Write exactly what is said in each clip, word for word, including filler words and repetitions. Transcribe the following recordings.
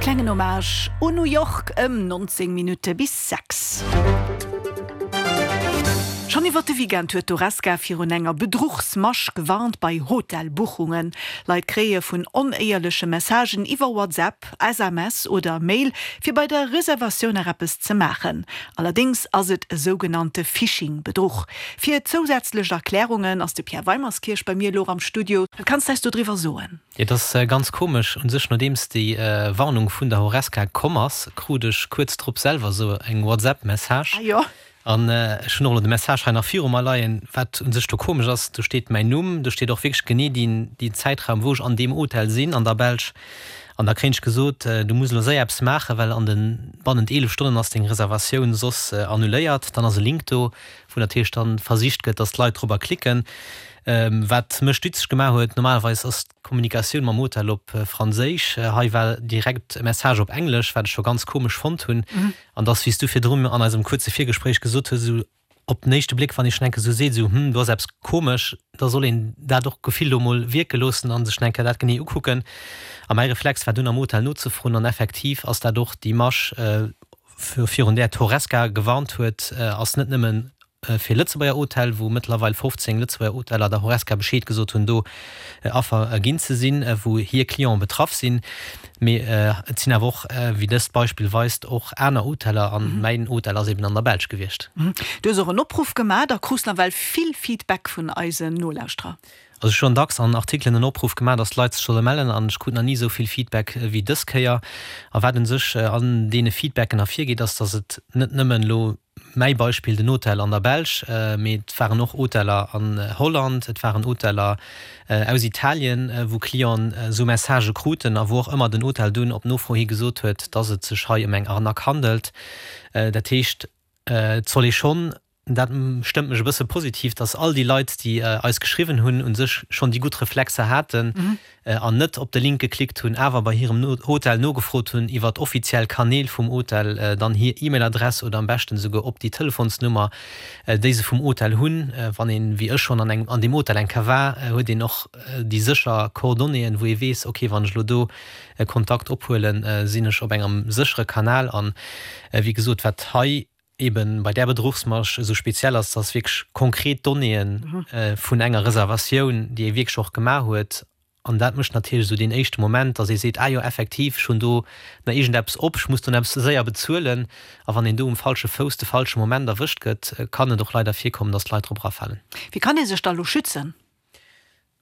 Klengen Hommage un New York ëm nonzéng Minutte bis sechs. Schonn iwwer de Weekend huet d'Horesca virun enger Bedruchsmasch gewarnt bei Hotelbuchungen. Leit kréie vun onéierleche Messagen iwwer WhatsApp, S M S oder Mail, fir bei der Reservatioun nach eppes ze maachen. Allerdéngs ass et e sougenannte Phishing-Bedruch. Fir zousätzlech Erklärungen ass de Pierre Weimerskirch bei mir elo am Studio. Wat kanns de eis dodriwwer soen? Jo, et ass ganz komesch un sech, nodeems déi Warnung vun der Horesca komm ass, krut ech kuerz drop selwer esou eng WhatsApp-Message. Ah jo. An ech hunn och elo de Message hei nach viru mer leien. Wat u sech do komesch ass, do steet mäin Numm, do steet och wierklech genee deen deen Zäitraum, wou ech an deem Hotel sinn an der Belsch. An da kréien ech gesot, du muss elo séier eppes maachen, well an de bannent eelef Stonnen ass deng Reservatioun soss annuléiert. Dann ass e Link do, wou natierlech dann versicht gëtt, dass d'Leit dorobber klicken. Wat mech stutzeg gemaach huet, normalerweis ass d'Kommunikatioun mam Hotel op Franséisch, hei war direkt e Message op Englesch, wat ech scho ganz komesch fonnt hunn. An dass, wéi s du virdrun an eisem kuerze Virgespréich gesot hues, esou op den éischte Bléck, wann ee schonn eng Kéier esou seet, esou, hm, do ass eppes komesch, da soll een dat och Gefill do mol wierke loossen a sech eng Kéier dat genee ukucken. A mäi Reflex war dunn am Hotel nozefroen an effektiv ass dat och déi Masch, virun där d'Horesca gewarnt huet, ass net nëmmen fir Lëtzebuerger Hotel, wou mëttlerweil fofzéng Lëtzebuerger Hoteller der Horesca Bescheed gesot hunn, do Affer ginn ze sinn, wou hir Clienten betraff sinn. Mee et sinn awer och, wéi dëst Beispill weist, och aner Hoteller, an mäin Hotel ass eben an der Belsch gewiescht. Du hues och en Opruff gemaach, da krus nawell vill Feedback vun eisen Nolauschterer. Also ech hunn dacks an Artikelen en Opruff gemaach, dass d'Leit sech solle mellen an ech krut nach ni esou vill Feedback wéi dës Kéier. A wat un sech an deene Feedbacken ervirgeet, ass, dass et net nëmmen elo mäi Beispill, den Hotel an der Belsch, mee et waren och Hoteller an Holland, et waren Hoteller aus Italien, wou Clienten esou Messagë kruten a wou och ëmmer den Hotel dunn op Nofro hi gesot huet, dass et sech hei ëm eng Arnaque handelt. Dat heescht, et soll ee schonn Dat stëmmt mech e bësse positiv, dass all déi Leit, déi eis geschriwwen hunn, u sech schonn déi gutt Reflexer haten an net op de Link geklickt hunn, awer bei hirem Hotel nogefrot hunn iwwer d'offiziell Kanäl vum Hotel, dann hir E-Mail-Adress oder am beschten esouguer op déi Telefonsnummer, déi se vum Hotel hunn. Wann een, wéi ech, schonn an engem, an deem Hotel eng Kéier war, huet een och déi sécher Coordonnéeën, wou ee weess, ok, wann ech elo do Kontakt ophuelen, sinn ech op engem séchere Kanal. An wéi gesot, wat hei eben bei där Bedruchsmasch esou speziell ass, dass wierklech konkret Donnéeën vun enger Reservatioun, déi ee wierklech och gemaach huet, an dat mécht natierlech esou deen éischte Moment, dass ee seet, ah jo, effektiv, ech hunn do nach iergendeppes op, ech muss do nach eppes séier bezuelen. A wann een do um falsche Fouss de falsche Moment erwëscht gëtt, kann et och leider virkommen, dass d'Leit drop erafalen. Wéi kann ee sech da elo schützen?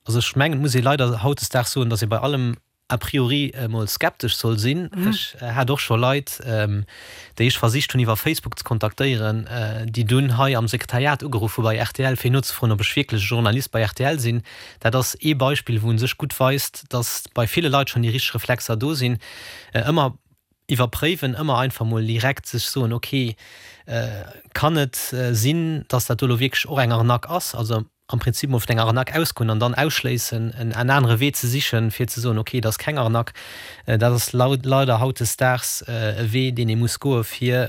Also ech mengen, et muss ee leider hautdesdaags soen, dass ee bei allem a priori emol skeptesch soll sinn. Ech hat och scho Leit, déi ech versicht hunn iwwer Facebook ze kontaktéieren, déi dunn hei am Sekretariat ugeruff hu bei R T L, fir nozefroen, ob ech wierklech e Journalist bei R T L sinn. Dat ass ee Beispill, wou u sech gutt weist, datt bei ville Leit schonn déi richteg Reflexer do sinn. Ëmmer iwwerpréiwen, ëmmer einfach mol direkt sech soen, ok, kann et sinn, datt dat do elo wierklech och eng Arnaque ass? Also am Prinzip mol vun enger Arnaque ausgoen an dann ausschléissen, en anere Wee ze sichen, fir ze soen, ok, et ass keng Arnaque. Dat ass leider hautdesdaags e Wee, deen ee muss goe fir,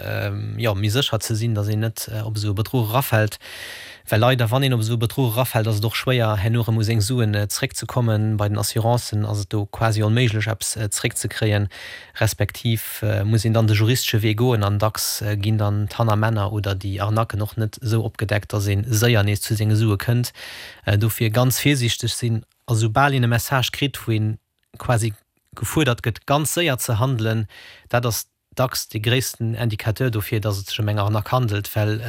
jo, méi sécher ze sinn, datt een net op esou e Bedruch erafält. Well leider, wann een op esou e Bedruch erafält, ass et och schwéier, herno erëm u seng Suen zréckzekommen. Bei den Assurancen ass et do quasi onméiglech, eppes zréckzekréien, respektiv muss een dann de juristesche Wee goen an dacks ginn dann d'Hannermänner oder déi Arnaquen och net esou opgedeckt, datt ee séier nees zu senge Sue kënnt. Dofir ganz virsiichteg sinn a soubal een e Message kritt, wou ee quasi gefuerdert gëtt, ganz séier ze handelen, dat ass dacks de gréissten Indicateur dofir, datt et sech ëm eng Arnaque handelt, well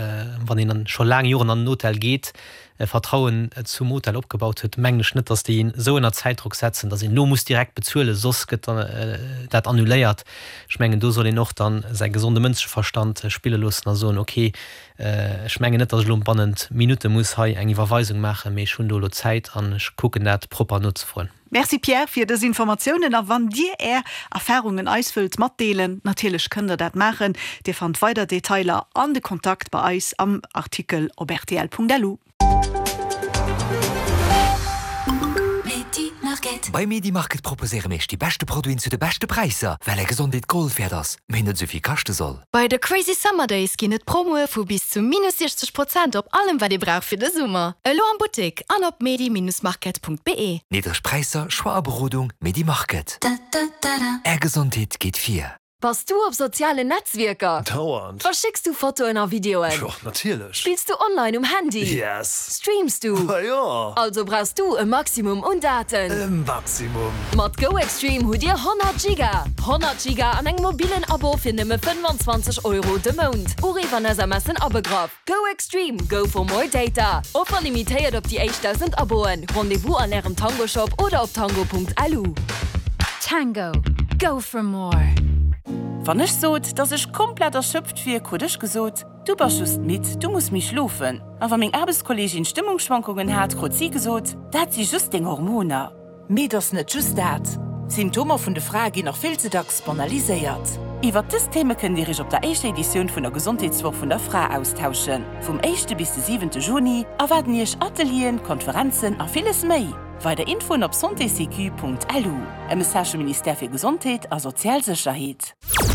wann een scho laang Joren an den Hotel geet, Vertrauen zum Hotel opgebaut huet, mengen ech net, datt déi een esou ënner Zäitdrock setzen, datt een elo muss direkt bezuelen, soss gëtt dat annuléiert. Ech mengen, do soll een och dann säi gesonde Mënscheverstand spille loossen a soen, ok, ech mengen net, datt ech elo bannent Minutte muss hei eng Iwwerweisung maachen, mee ech hunn do elo Zäit an ech kucken dat propper nozefroen. Merci Pierre fir dës Informatiounen a wann Dir Är Erfarungen eis wëllt matdeelen, natierlech kënnt der dat maachen. Dir fannt weider Detailer an de Kontakt bei eis am Artikel op R T L Punkt L U. Bei Medimarket proposéiere mir iech déi beschte Produiten zu de beschte Präisser, well är Gesondheet Gold wäert ass, mee net esou vill kaschte soll. Bei de Crazy Summer Days ginn et Promoe vu bis zu minus siechzeg Prozent op allem wat dir braucht fir de Summer. Elo am Buttek an op medi-market.be. Niddreg Präisser, Choix a Berodung, Medimarket. Är Gesondheet geet vir. Bass du op sozialen Netzwierker? Dauernd. Verschécks du Fotoen a Videoen? Jo, natierlech. Spills du online um Handy? Yes. Streams du? Ma jo. Also brauchs du e Maximum un Daten. E Maximum. Mat GoExtreme hutt dir honnert Giga! honnert Giga an engem mobillen Abo fir nëmme fënnwanzwanzeg Euro de Mount. Uriff an SMSen abegraff. GoExtreme, go for more data! Offer limitéiert op déi éischt dausend Aboen. Rendez-vous an ärem Tango Shop oder op tango.lu. Tango, go for more! Wann ech sot, dass ech komplett erschöpft wier, krut ech gesot, Du bass just midd, du muss méi schlofen. A wa meng Aarbechtskolleegin Stëmmungsschwankungen hat, krut si gesot, Dat si just deng Hormoner. Mee et ass net just dat. D'Symptomer vun de Frae ginn nach vill ze dacks banaliséiert. Iwwert dës Theme kënnt Dir Iech op der éischter Editioun vun der Gesondheetswoch vun der Fra austauschen. Vum éischte bis de siwente Juni erwaarden Iech Atelieren, Konferenzen a villes méi. Weider Infoen op santésécu.lu. E Message vum Ministère fir Gesondheet a sozial Sécherheet.